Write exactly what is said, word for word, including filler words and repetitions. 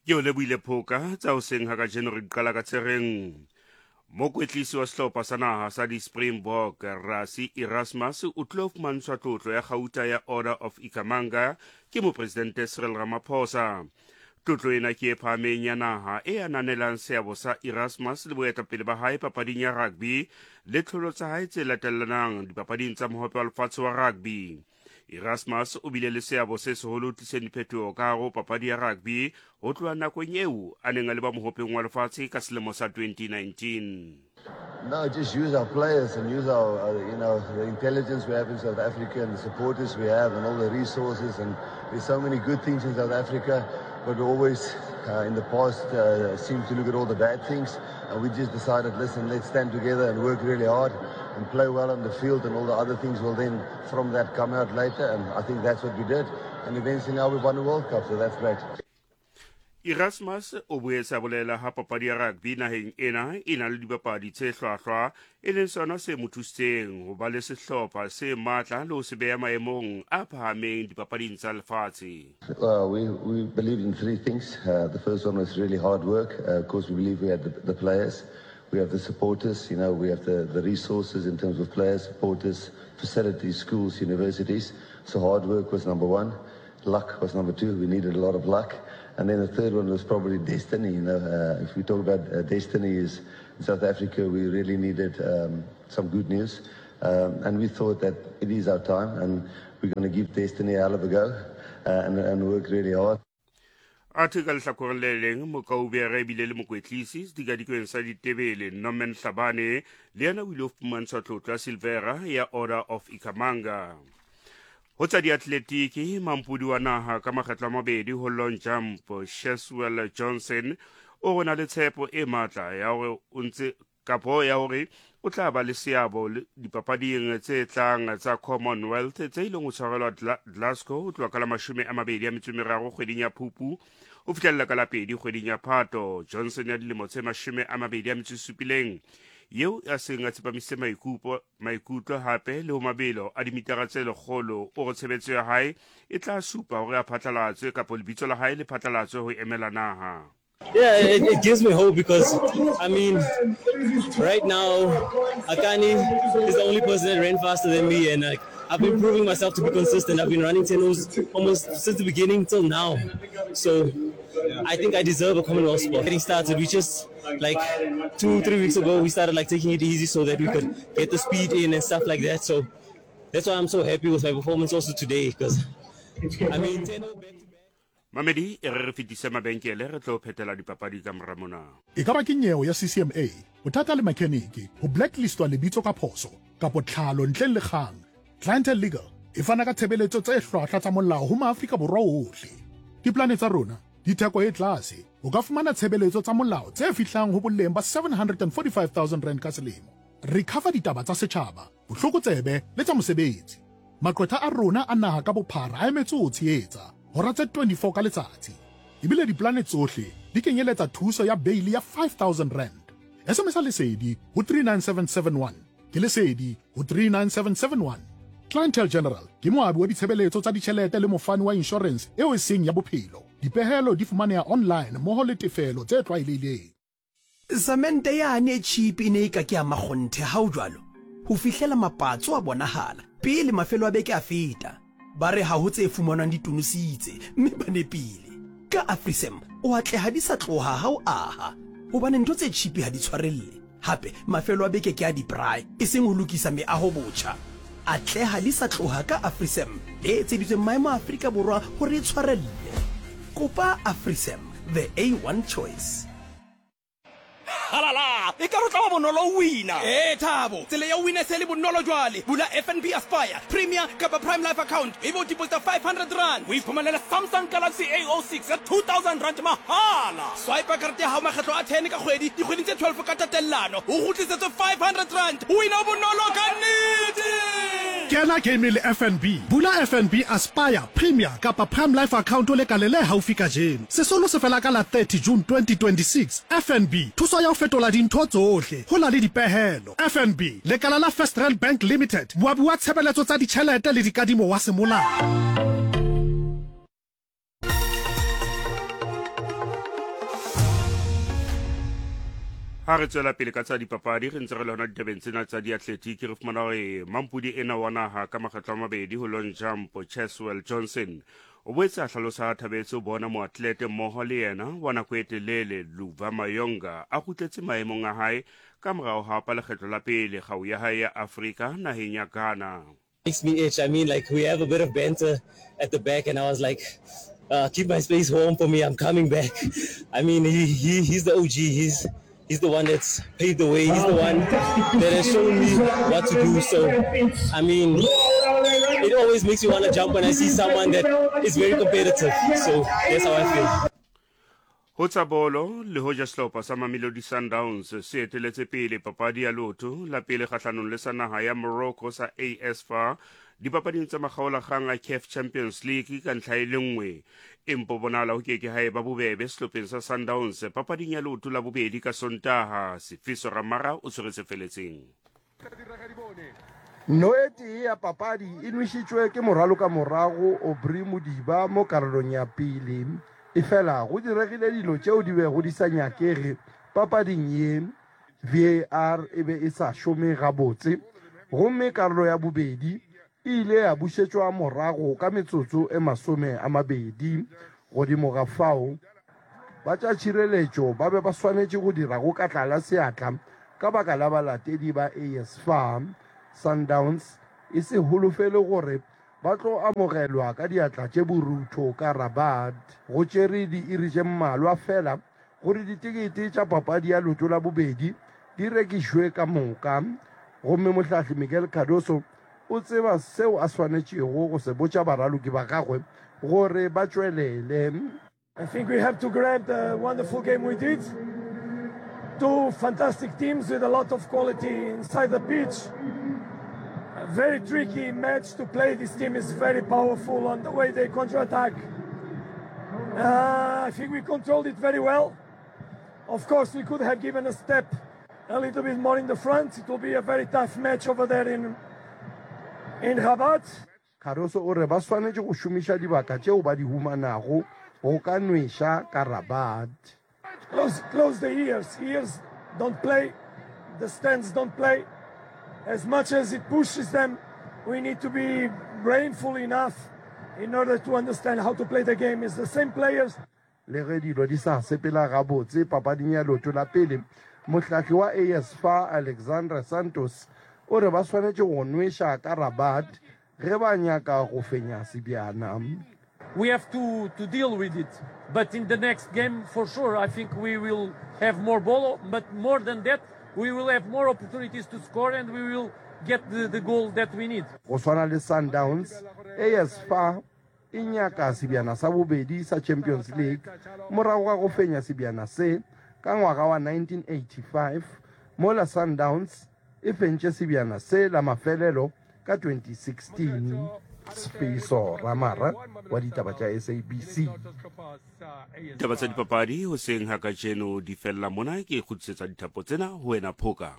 Ke o lebohile Phoka tsa hoseng ha kajeno re qala ka tsereng. Mokwetlisi wa sehlopha sa naha sa di-Springbok Rassie Erasmus o tlilo fumantshwa tlotlo ya kgauta ya Order of Ikhamanga ke mopresidente Cyril Ramaphosa. Tlotlo ena ke e phahameng ya naha e ananelang seabo sa Erasmus le boetapele ba hae papading ya rugby le tlholo tsa hae tse latellanang dipapading tsa mohope wa lefatshe wa rugby. Erasmus o bile le seabo se seholo ho tliseng diphetoho ka hare ho papadi ya rugby ho tloha nakong eo a neng a le ba mohopeng wa lefatshe ka selemo sa twenty nineteen. No, just use our players and use our, uh, you know, the intelligence we have in South Africa and the supporters we have and all the resources. And there's so many good things in South Africa, but we always, uh, in the past, uh, seem to look at all the bad things. And we just decided, listen, let's stand together and work really hard and play well on the field, and all the other things will then from that come out later. And I think that's what we did. And eventually now we've won the World Cup, so that's great. Erasmus o boetse a bolela ha papadi ya rugby naheng ena e na le dibapadi tse hlwahlwa, e leng sona se mo thusitseng ho ba le sehlopha se matla le ho se beha maemong a phahameng dipapading tsa lefatshe. Uh, we, we believed in three things. Uh, the first one was really hard work. Uh, of course, we believe we had the, the players, we have the supporters, you know, we have the, the resources in terms of players, supporters, facilities, schools, universities. So hard work was number one. Luck was number two. We needed a lot of luck. And then the third one was probably destiny. You know, uh, if we talk about uh, destiny, is in South Africa, we really needed um, some good news. Um, and we thought that it is our time, and we're gonna give destiny a hell of a go, uh, and, and work really hard. Athe ka lehlakoreng le leng, mokaubere ebile le mokwetlisi sedikadikweng sa ditebele Norman Hlabane le yena o ile ho fumantshwa tlotlo ya Silvera ya Order of Ikhamanga. Ho tsa diatletiki, mampodi wa naha ka makgetlo a mabedi ho long jump Cheswell Johnson o re na le tshepo e matla ya hore o ntse kapo ya hore o tla ba le seabo dipapading tse tlang tsa Commonwealth tse ileng ho tshwarelwa Glasgow ho tloha ka la mashome a mabedi a metso e meraro kgweding ya Phupu ho fihlella ka la pedi kgweding ya Phato. Johnson ya dilemo tse mashome a mabedi a metso e supileng eo a seng a tsepamisitse maikutlo maikutlo hape le ho mabelo a dimitara tse lekgolo, o re tshebetso ya hae e tla supa hore a phatlalatswe kapa lebitso la hae le phatlalatswe ho emela naha. Yeah, it, it gives me hope because, I mean, right now, Akani is the only person that ran faster than me, and like, I've been proving myself to be consistent. I've been running ten O's almost since the beginning till now. So I think I deserve a Commonwealth spot. Getting started, we just, like, two, three weeks ago, we started, like, taking it easy so that we could get the speed in and stuff like that. So that's why I'm so happy with my performance also today because, I mean, ten oh back to back. Mamedi, e re re fetise mabenkele re tlo phethela dipapadi ka mora mona. E ka ba ke nyeo ya C C M A, bothata le mechanic, ho blacklistwa lebitso ka phoso, kapo tlhalo ntle le kgang. Clientele Legal e fana ka tshebeletso tse hlwahlwa tsa molao ho maAfrika Borwa ohle. Diplane tsa rona di theko e tlase. O ka fumana tshebeletso tsa molao tse fihlang ho boleng ba seven hundred and forty-five thousand rand ka selemo. Re cover ditaba tsa setjhaba, bohlokotsebe le tsa mosebetsi. Maqwetha a rona a naha ka bophara a emetse ho tshehetsa hora tse twenty-four ka letsatsi. Ebile diplane tsohle di kenyeletsa thuso ya bail ya five thousand rand. S M S Lesedi ho three nine seven seven one. Ke Lesedi ho three nine seven seven one. Clientele General ke moabi wa ditshebeletso tsa ditjhelete le mofani wa insurance eo e seng ya bophelo. Dipehelo di fumaneha online mmoho le tefelo tse tlwaelehileng. Cement yane e cheap e ne e ka ke ya makgonthe ha o jwalo. Ho fihlela mapatso a bonahala pele mafelo a beke a feta. Ba re ha ho tse fumanwang di tonositse mme ba nepile. Ka AfriSam o atleha di sa tloha ha o aha hobane ntho tse cheap ha di tshwarelle. Hape mafelo a beke ke a di-braai e seng ho lokisa meaho botjha. Atleha di sa tloha ka AfriSam e etseditsweng maemo a Afrika Borwa hore e tshwarelle. Kopa AfriSam, the A one choice. Halala, e ka re tla ba bonolo wina. Eh Thabo, tsela ya wina se le bonolo jwale. Bula F N B Aspire, Premier kapa Prime Life account. E bo deposit five hundred rand. O iphumanela Samsung Galaxy A oh six ya two thousand rand mahala. Swipe karete ya hao makgetlo a ten ka kgwedi, dikgweding tse twelve ka tatellano. O kgutlisetswe five hundred rand. Wina bonolo ka nnete. Kena game le F N B. Bula F N B Aspire, Premier kapa Prime Life account o le kale le haufi kajeno. Sesolo se fela ka la thirty June twenty twenty-six. F N B, thuso ya ho fetola dintho tsohle ho na le dipehelo. F N B, lekala la First Rand Bank Limited, moabi wa tshebeletso tsa ditjhelete le dikadimo wa semolao. Ha re tswela pele ka tsa dipapadi, re ntse re le hona ditabeng tsena tsa diatletiki, re fumana hore mampudi ena wa naha ka makgetlo a mabedi ho long jump Cheswell Johnson o boetse a hlalosa a thabetse ho bona moatlete mmoho le yena wa nako e telele Luva Mayonga a kgutletse maemong a hae ka morao ha hapa lekgetlo la pele kgau ya hae ya Afrika naheng ya Ghana. Makes me itch. I mean, like, we have a bit of banter at the back, and I was like, uh, keep my space warm for me. I'm coming back. I mean, he, he he's the O G. He's he's the one that's paved the way. He's the one that has shown me what to do. So, I mean, it always makes me wanna jump when I see someone that is very competitive. So that's how I feel. Ho tsa bolo, le hoja sehlopha sa Mamelodi Sundowns se eteletse pele papadi ya lotho la pele kgahlanong le sa naha ya Morocco sa A S F A dipapading tsa makgaolakgang a C A F Champions League ka ntlha e le nngwe. Empa bonahala ho keke ha eba bobebe sehlopheng sa Sundowns papading ya leoto la bobedi ka Sontaha. Sifiso Ramara o tshwere se feletseng. No e tee ya papadi e nwešitšwe ke moralo ka morago Aubrey Modiba mo karolong ya pele. Efela go diregile dilo tšeo di bego di sa nyakege papading ye. V A R e be e sa šome gabotse, gomme karolo ya bobedi e ile ya bušetšwa morago ka metsotso e masome a mabedi. Godimo ga fao, ba tša tšhireletšo ba be ba swanetše go dira go ka tlala seatla ka baka la balatedi ba A S F A. Sundowns e se holofele gore ba tlo amogelwa ka diatla tše borutho ka Rabat. Go tšere diiri tše mmalwa fela gore ditekete tša papadi ya leoto la bobedi di rekišwe ka moka, gomme mohlahli Miguel Cardoso o tseba seo a swanetšego go se botša baraloki ba gagwe gore ba tšwelele. I think we have to grab the wonderful game we did. Two fantastic teams with a lot of quality inside the pitch. A very tricky match to play. This team is very powerful on the way they counter-attack. Uh, I think we controlled it very well. Of course, we could have given a step a little bit more in the front. It will be a very tough match over there in, in Rabat. Cardoso o re ba swanetše go šomiša dibaka tšeo ba di humanago go ka nweša ka Rabat. Close, close the ears. Ears don't play. The stands don't play. As much as it pushes them, we need to be brainful enough in order to understand how to play the game. It's the same players. Le ge dilo di sa sepela gabotse papading ya leoto la pele, mohlahli wa A S F A Alexandra Santos o re ba swanetše go nweša ka Rabat ge ba nyaka go fenya sebjana. We have to, to deal with it. But in the next game, for sure, I think we will have more ball. But more than that, we will have more opportunities to score and we will get the, the goal that we need. Go swana le Sundowns, A S F A e nyaka sebjana sa bobedi sa Champions League morago ga go fenya sebjana se ka ngwaga wa nineteen eighty-five, mola Sundowns e fentše sebjana se la mafelelo ka twenty sixteen. Sifiso Ramara wa ditaba tša S A B C. Ditaba tsa dipapadi hoseng ha kajeno di fella mona, ke kgutlisetsa dithapo tsena ho wena Phoka.